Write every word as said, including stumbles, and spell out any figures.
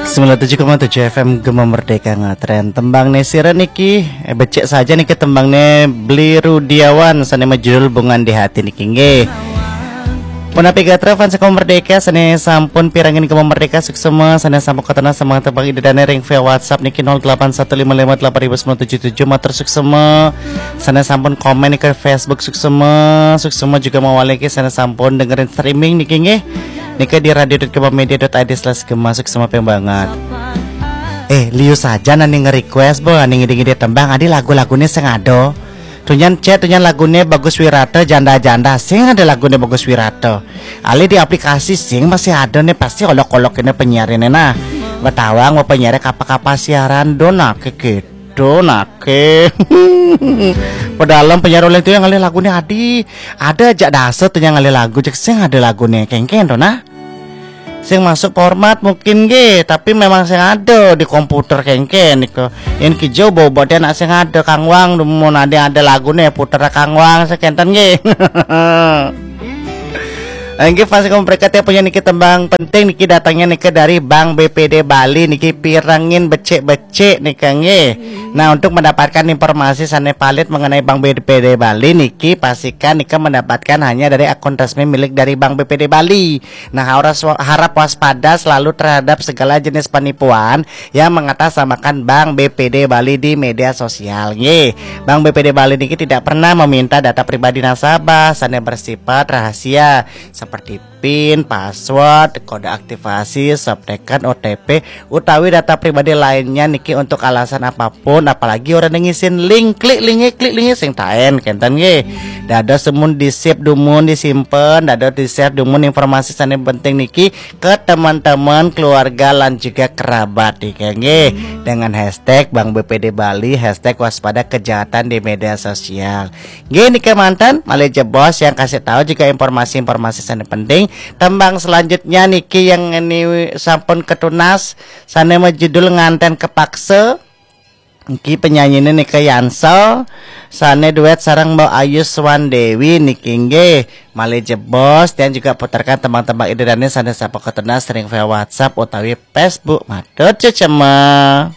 Sembilan tujuh koma tujuh F M Gema Merdeka ngetren. Tembang ne sira niki, eh, becik saja niki tembang ne Bli Rudiawan sane majudul Bungan di Hati niki nggih. Punapi gatra fans Gema Merdeka sane sampun pirengin Gema Merdeka suksma, sane sampun ketena semangat tembang ida dane ring via WhatsApp niki nol delapan satu lima lima delapan ribu sembilan tujuh tujuh, matur suksma. Sane sampun komen niki Facebook suksma, suksma juga mawali niki sane sampun dengerin streaming niki nggih. Nika di radio dot gema media dot I D slash gema, suksma banget. Eh, liu saja nani nge-request bo, nani ngide-ngide tembang, adi lagu-lagune sing ada. Tunyan cek, tunyan lagune Bagus Wirata, janda-janda, sing ada lagune Bagus Wirata. Ali di aplikasi sing masih ada nih, pasti olok-olok ini penyiar ini nah. Betawang mau penyiar kapa-kapa siaran, dona kekit. Tuh nake. Padahal penyiar oleh itu yang ngalih lagune adi. Ada aja dasar tuh yang ngalih lagu, cek sing ada lagune kengken tuh nah. Sing masuk format mungkin ge, tapi memang sing ada di komputer kengken niko. Yang kijau bawa badan nak sing ada Kang Wang, mau nanti ada lagune puter Kang Wang sekenten ge. Nggih, fans Gema Merdeka, punya niki tembang penting niki datangnya niki dari Bank B P D Bali niki, pirengin becik-becik niki nggih. Nah, untuk mendapatkan informasi sane valid mengenai Bank B P D Bali niki, pastikan niki mendapatkan hanya dari akun resmi milik dari Bank B P D Bali. Nah, harus wa-, harap waspada selalu terhadap segala jenis penipuan yang mengatasnamakan Bank B P D Bali di media sosial nggih. Bank B P D Bali niki tidak pernah meminta data pribadi nasabah sane bersifat rahasia seperti pin, password, kode aktivasi, subtekan, O T P, utawi data pribadi lainnya niki untuk alasan apapun, apalagi orang yang ngisin link, klik linknya, klik linknya sing taen kenten nggih. Dados dumun di-save dumun, disimpen, dados di-share dumun informasi sane penting niki ke teman-teman, keluarga, lan juga kerabat niki nggih. Dengan hashtag Bank B P D Bali, hashtag waspada kejahatan di media sosial. Nggih, niki manten, malih jebos yang kasih tahu juga informasi-informasi sane penting. Tembang selanjutnya niki yang ini sampun ketunas, sane majudul Nganten Kepaksa. Niki penyanyine nika Yansel, sane duet sareng Mbok Ayu Swandewi niki nggih. Malih jebos, dan juga putarkan tembang-tembang ida dane sane sampun ketunas ring via WhatsApp utawi Facebook. Matur cecema.